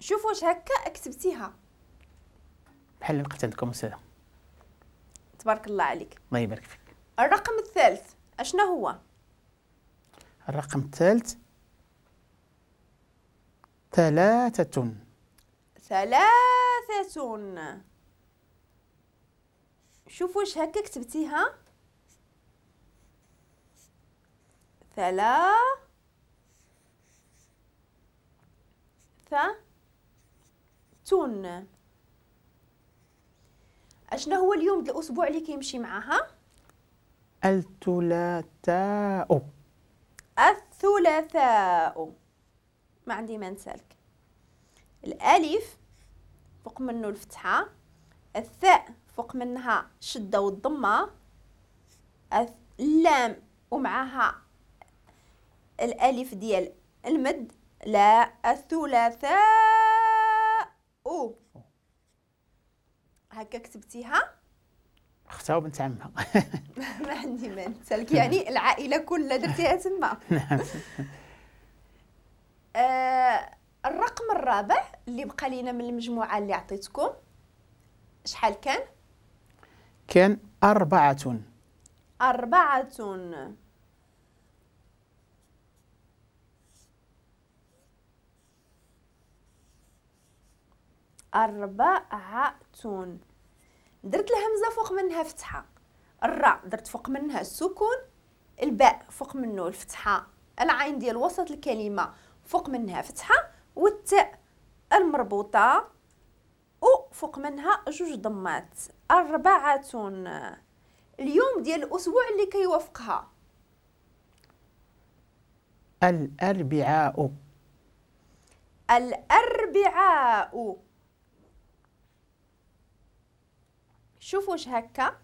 شوف واش هكا كتبتيها بحال اللي لقيت عندكم أستاذة. تبارك الله عليك. الله يبارك فيك. الرقم الثالث اشنا هو؟ الرقم الثالث 3. 3. شوف واش هكا كتبتيها. 3 تون. اشنا هو اليوم ديال الاسبوع اللي كيمشي معاها؟ الثلاثاء. الثلاثاء. ما عندي ما نسالك. الالف فوق منه الفتحة، الثاء فوق منها الشدة والضمه، اللام ومعها الالف ديال المد، لا الثلاثاء. هكا كتبتيها؟ اختها وبنت عمها. ما عندي ما نسالك، يعني العائلة كلها درتيها تما. نعم. الرقم الرابع اللي بقى لينا من المجموعة اللي عطيتكم شحال كان؟ كان 4. 4. 4. درت الهمزة فوق منها فتحة، الراء درت فوق منها السكون، الباء فوق منه الفتحة، العين ديال وسط الكلمة فوق منها فتحة، والتاء المربوطة وفوق منها 2 ضمات. 4. اليوم ديال الأسبوع اللي كيوافقها؟ الأربعاء. الأربعاء. شوفوا واش هكا.